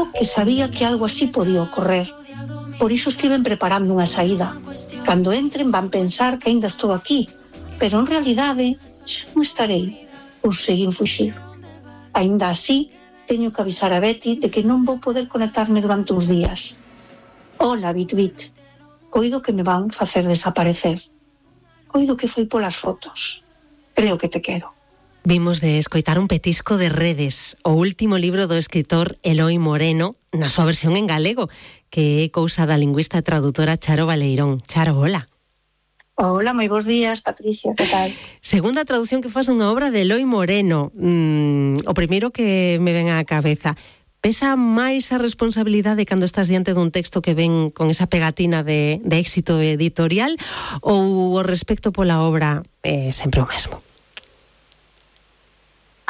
tanto que sabía que algo así podía ocorrer. Por iso estiven preparando unha saída. Cando entren van pensar que aínda estou aquí, pero en realidade xa non estarei, por seguir fuxir. Aínda así, teño que avisar a Betty de que non vou poder conectarme durante uns días. Hola, Bit. Coido que me van facer desaparecer. Coido que foi polas fotos. Creo que te quero. Vimos de escoitar un petisco de Redes, o último libro do escritor Eloi Moreno, na súa versión en galego, que é cousa da lingüista e traductora Charo Baleirón. Charo, hola. Hola, moi bons días, Patricia, que tal? Segunda traducción que faz dunha obra de Eloi Moreno. O primeiro que me ven á cabeza. Pesa máis a responsabilidade cando estás diante dun texto que ven con esa pegatina de éxito editorial ou o respecto pola obra sempre o mesmo?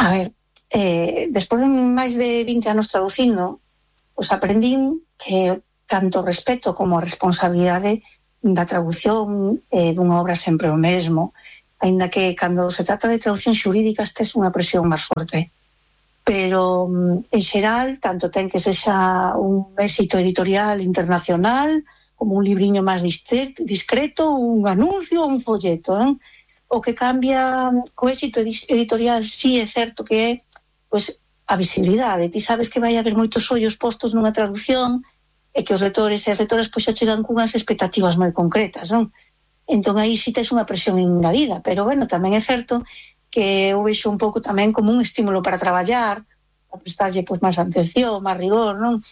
A ver, despois de máis de 20 anos traducindo, pues aprendín que tanto o respeto como a responsabilidade da traducción dunha obra sempre o mesmo, aínda que cando se trata de traducción xurídica estes unha presión máis forte. Pero, en xeral, tanto ten que sexa un éxito editorial internacional, como un libriño máis discreto, un anuncio, un folleto, O que cambia co éxito editorial sí é certo que é pois, a visibilidade. Ti sabes que vai haber moitos ollos postos nunha traducción e que os lectores e as lectoras pois, xa chegan cunhas expectativas moi concretas, non? Entón aí sí tes unha presión engadida, pero bueno, tamén é certo que eu vexo un pouco tamén como un estímulo para traballar, para prestarlle pois, máis atención, máis rigor, non?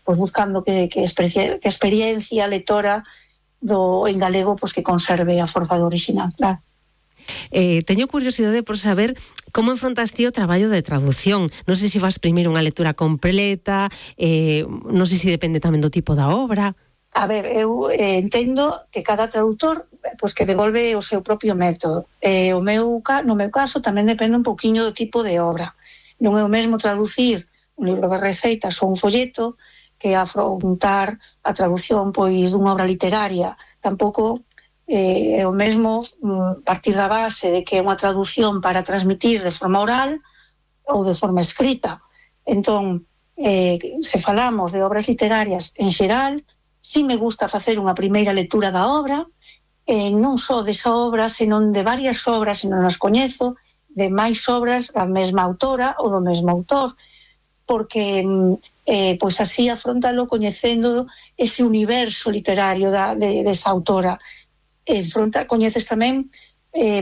Pois buscando que a experiencia lectora en galego pois que conserve a forza do original, claro. Teño curiosidade por saber como enfrontaste o traballo de traducción. Non sei se vas primeiro unha lectura completa, non sei se depende tamén do tipo da obra. A ver, eu entendo que cada traductor pois que devolve o seu propio método. No meu caso tamén depende un poquinho do tipo de obra. Non é o mesmo traducir un libro de receitas ou un folleto que afrontar a traducción pois dunha obra literaria. Tampouco é o mesmo partir da base de que é unha traducción para transmitir de forma oral ou de forma escrita. Entón, se falamos de obras literarias en xeral, si me gusta facer unha primeira lectura da obra, non só desa obra, senón de varias obras, se non as coñezo, de máis obras da mesma autora ou do mesmo autor, porque pois así afrontalo coñecendo ese universo literario desa autora. Coñeces tamén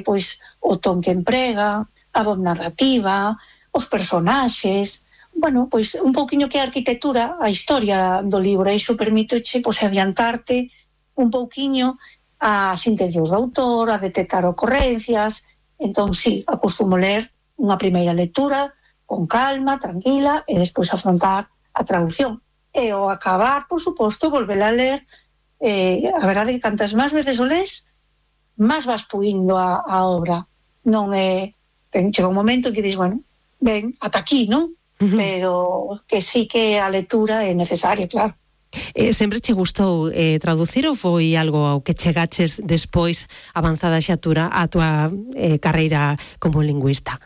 pois o ton que emprega, a voz narrativa, os personaxes, bueno, pois un pouquiño que a arquitectura, a historia do libro, e iso permíteche pois adiantarte un pouquiño as intencións do autor, a detectar ocorrencias. Entón, sí, acostumo ler unha primeira lectura con calma, tranquila, e despois afrontar a traducción. E ao acabar, por suposto, volver a ler, a verdade é que cantas máis veces o lees, máis vas puindo a obra. Non é... Chega un momento en que dis, bueno, ben, ata aquí, non? Pero que sí que a lectura é necesaria, claro. Sempre che gustou traducir ou foi algo ao que chegaches despois avanzada xa a túa carreira como lingüista?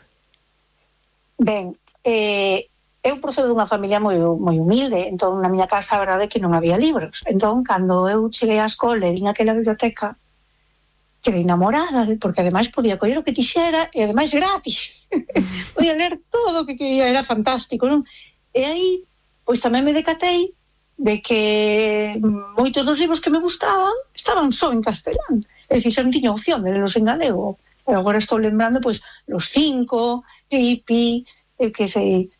Ben, eu procedo dunha familia moi humilde, entón na miña casa a verdade é que non había libros. Entón, cando eu cheguei á escola e vin aquela biblioteca, quedei enamorada, porque ademais podía coller o que quixera e ademais gratis. Podía ler todo o que quería, era fantástico, non? E aí, pois tamén me decatei de que moitos dos libros que me gustaban estaban só en castelán. É dicir, xa non tiña opción de lelos en galego. E agora estou lembrando, pois, Los Cinco, Pipi, que sei,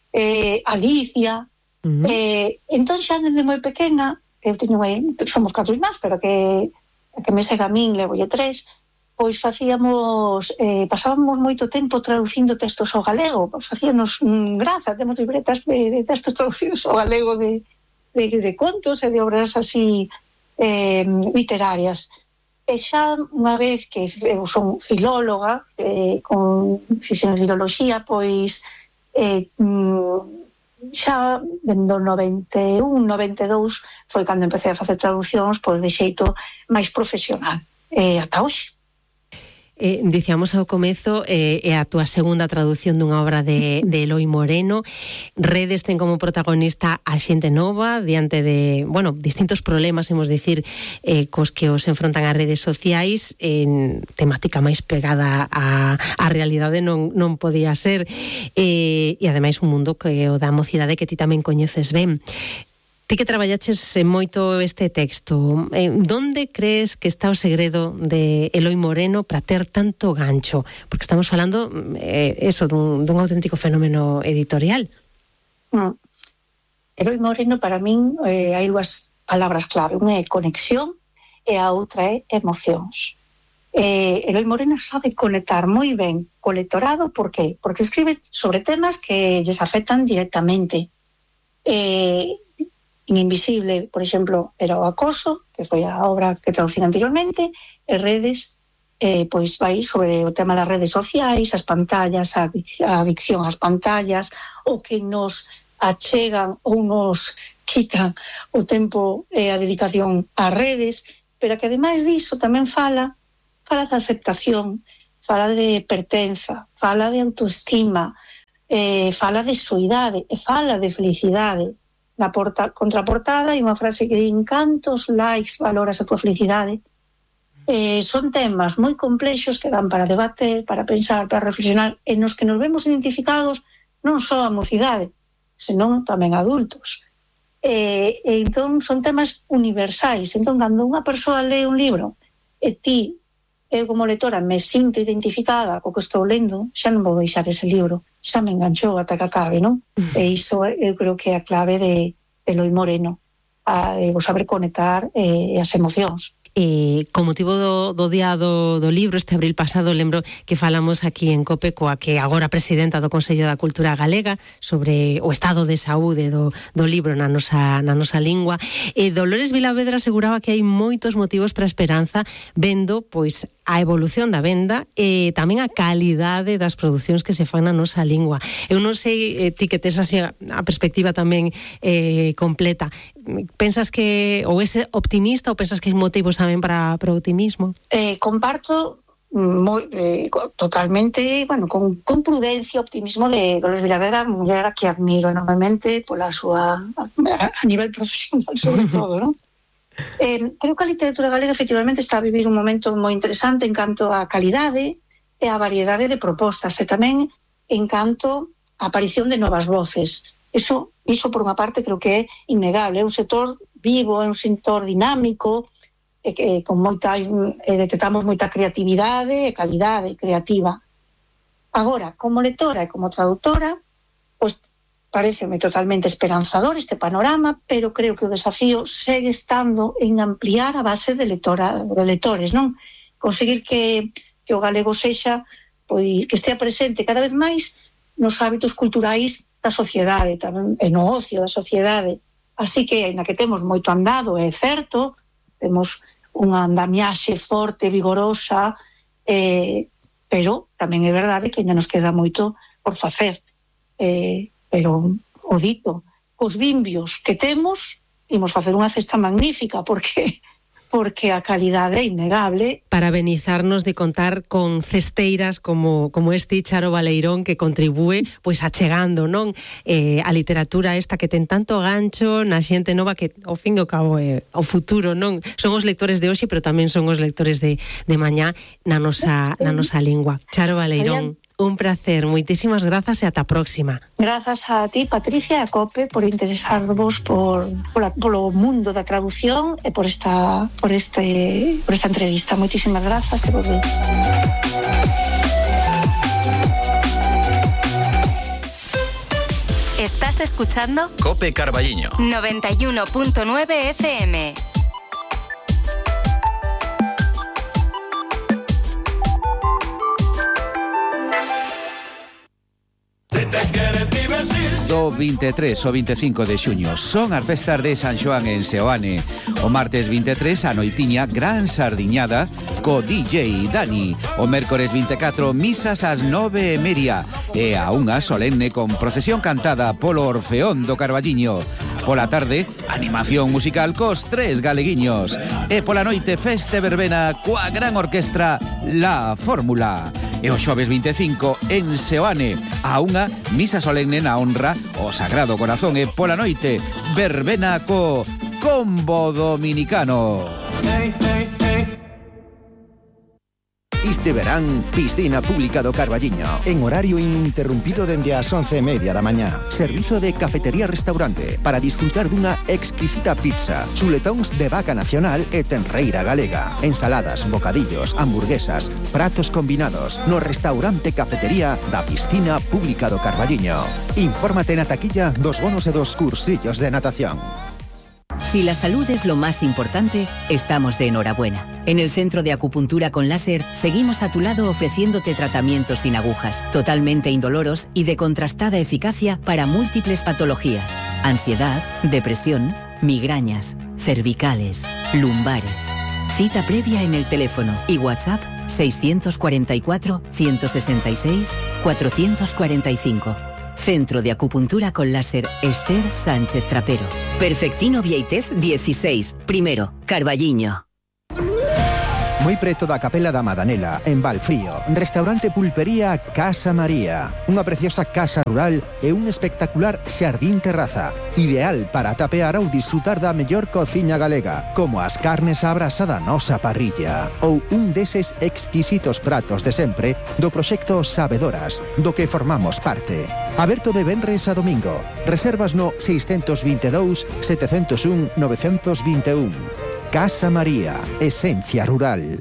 Alicia. Entón xa desde moi pequena, eu teño somos 4 irmáns, pero que me segue a min, levolle 3, pois pasábamos moito tempo traducindo textos ao galego, facíanos graza, temos libretas de textos traducidos ao galego de contos e de obras así literarias. E xa unha vez que eu son filóloga, fixen filoloxía, pois xa do 91, 92 foi cando empecé a facer traducións pois de xeito máis profesional, ata hoxe. dicíamos ao comezo, é a túa segunda traducción dunha obra de Eloi Moreno. Redes ten como protagonista a xente nova diante de, distintos problemas, hemos dicir, cos que os enfrontan as redes sociais, en temática máis pegada á realidade non podía ser, e ademais un mundo que o da mocidade que ti tamén coñeces ben. Ti que traballaches moito este texto, donde crees que está o segredo de Eloi Moreno para ter tanto gancho? Porque estamos falando dun auténtico fenómeno editorial. Eloi Moreno, para min, hai dúas palabras clave. Unha é conexión e a outra é emocións. Eloi Moreno sabe conectar moi ben co lectorado. Por qué? Porque escribe sobre temas que lles afectan directamente. Invisible, por exemplo, era o acoso, que foi a obra que traducín anteriormente, e Redes, pois vai sobre o tema das redes sociais, as pantallas, a adicción ás pantallas, o que nos achegan ou nos quitan o tempo e a dedicación ás redes, pero que ademais diso tamén fala de aceptación, fala de pertenza, fala de autoestima, fala de soidade e fala de felicidade. Na contraportada hai unha frase que di: cantos likes valoras a tua felicidade. Son temas moi complexos que dan para debater, para pensar, para reflexionar, e nos que nos vemos identificados non só a mocidade, senón tamén adultos. Entón son temas universais. Entón, cando unha persoa lee un libro e ti, eu como lectora, me sinto identificada co que estou lendo, xa non vou deixar ese libro, xa me enganchou ata que acabe, non? E iso eu creo que é a clave de Eloi Moreno, o saber conectar as emocións. Con motivo do día do libro, este abril pasado, lembro que falamos aquí en COPE coa que agora presidenta do Consello da Cultura Galega sobre o estado de saúde do libro na nosa lingua. Dolores Vilavedra aseguraba que hai moitos motivos para a esperanza, vendo pois a evolución da venda e tamén a calidade das producións que se fan na nosa lingua. Eu non sei, ti que tes así a perspectiva tamén completa, pensas que ou és optimista ou pensas que hai motivos tamén para o optimismo? Comparto totalmente, con prudencia, optimismo de Dolores Vilavedra, muller a que admiro enormemente pola súa a nivel profesional, sobre todo, non? Creo que a literatura galega efectivamente está a vivir un momento moi interesante en canto á calidade e á variedade de propostas, e tamén en canto á aparición de novas voces. Iso por unha parte creo que é innegable. É un sector vivo, é un sector dinámico, con detectamos moita creatividade e calidade creativa. Agora, como lectora e como traductora, pois pareceme totalmente esperanzador este panorama, pero creo que o desafío segue estando en ampliar a base de lectores, non? Conseguir que o galego sexa, pois, que estea presente cada vez máis nos hábitos culturais da sociedade, tamén e no ocio da sociedade. Así que, aínda que temos moito andado, é certo, temos unha andamiaxe forte, vigorosa, pero tamén é verdade que ainda nos queda moito por facer. Pero, o dito, os vimbios que temos, imos facer unha cesta magnífica, porque a calidade é innegable. Parabenizarnos de contar con cesteiras como este Charo Baleirón, que contribúe pois achegando, non, a literatura esta que ten tanto gancho na xente nova, que ao fin e ao cabo é o futuro, non? Son os lectores de hoxe, pero tamén son os lectores de mañá na nosa lingua. Charo Baleirón, un placer, moitísimas grazas e ata a próxima. Grazas a ti, Patricia, e a COPE, por interesarvos polo mundo da traducción e por esta entrevista. Moitísimas grazas e volve. Estás escuchando COPE Carballiño 91.9 FM. Do 23 ao 25 de xuño son as festas de San Xoán en Seoane. O martes 23 a noitiña gran sardiñada co DJ Dani. O mércores 24 misas ás 9:30 e a unha solemne con procesión cantada polo Orfeón do Carballiño. Pola tarde, animación musical cos 3 galeguiños. E pola noite, feste verbena coa gran orquestra La Fórmula. E o xoves 25 en Seoane, a unha misa solemne na honra o Sagrado Corazón. E pola noite, verbena co Combo Dominicano. Este verán, piscina pública do Carballiño, en horario ininterrumpido dende as 11:30 da mañá. Servizo de cafetería-restaurante para disfrutar dunha exquisita pizza, chuletóns de vaca nacional e tenreira galega, ensaladas, bocadillos, hamburguesas, pratos combinados no restaurante cafetería da piscina pública do Carballiño. Infórmate na taquilla dos bonos e dos cursillos de natación. Si la salud es lo más importante, estamos de enhorabuena. En el Centro de Acupuntura con Láser seguimos a tu lado ofreciéndote tratamientos sin agujas, totalmente indoloros y de contrastada eficacia para múltiples patologías: ansiedad, depresión, migrañas, cervicales, lumbares. Cita previa en el teléfono y WhatsApp 644 166 445. Centro de Acupuntura con Láser Esther Sánchez Trapero. Perfectino Vieitez 16, primero, Carballiño. Moi preto da Capela da Madanela, en Valfrío, restaurante pulpería Casa María. Unha preciosa casa rural e un espectacular xardín terraza, ideal para tapear ou disfrutar da mellor cociña galega, como as carnes á brasa da nosa parrilla, ou un deses exquisitos pratos de sempre do proxecto Sabedoras, do que formamos parte. Aberto de venres a domingo. Reservas no 622 701 921. Casa María, esencia rural.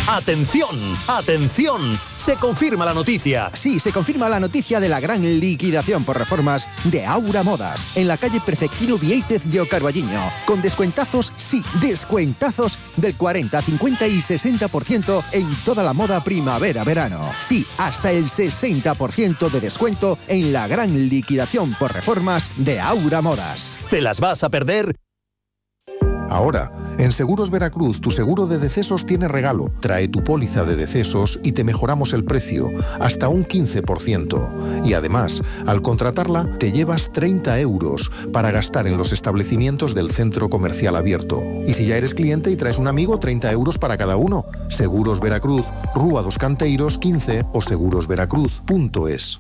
¡Atención! ¡Atención! Se confirma la noticia. Sí, se confirma la noticia de la gran liquidación por reformas de Aura Modas en la calle Perfectino Vieitez de Carballiño, con descuentazos, sí, descuentazos del 40, 50 y 60% en toda la moda primavera-verano. Sí, hasta el 60% de descuento en la gran liquidación por reformas de Aura Modas. ¿Te las vas a perder? Ahora, en Seguros Veracruz, tu seguro de decesos tiene regalo. Trae tu póliza de decesos y te mejoramos el precio, hasta un 15%. Y además, al contratarla, te llevas 30 euros para gastar en los establecimientos del centro comercial abierto. Y si ya eres cliente y traes un amigo, 30 euros para cada uno. Seguros Veracruz, Rúa dos Canteiros 15 o segurosveracruz.es.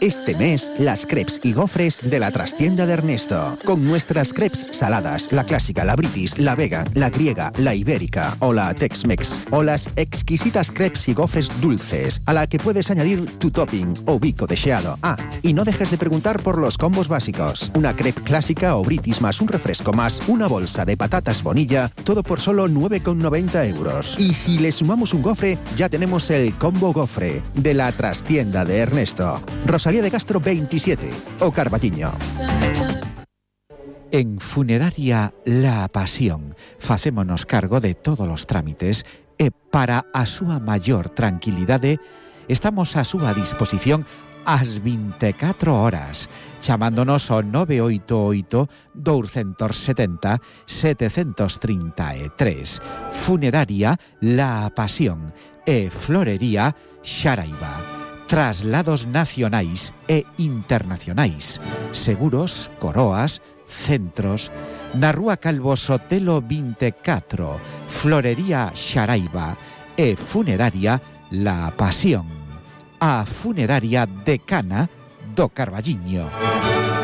Este mes, las crepes y gofres de la trastienda de Ernesto. Con nuestras crepes saladas, la clásica, la british, la vegan, la griega, la ibérica o la Tex-Mex. O las exquisitas crepes y gofres dulces, a la que puedes añadir tu topping o bico deseado. Ah, y no dejes de preguntar por los combos básicos. Una crepe clásica o british más un refresco más una bolsa de patatas Bonilla, todo por solo 9,90 euros. Y si le sumamos un gofre, ya tenemos el combo gofre de la trastienda de Ernesto. Rosalía de Castro 27, o Carballiño. En Funeraria La Pasión facémonos cargo de todos os trámites e para a súa maior tranquilidade estamos a súa disposición ás 24 horas, chamándonos ao 988 270 733. Funeraria La Pasión e Florería Xaraiba. Traslados nacionais e internacionais, seguros, coroas, centros, na Rúa Calvo Sotelo 24, Florería Xaraiba e Funeraria La Pasión, a funeraria decana do Carballiño.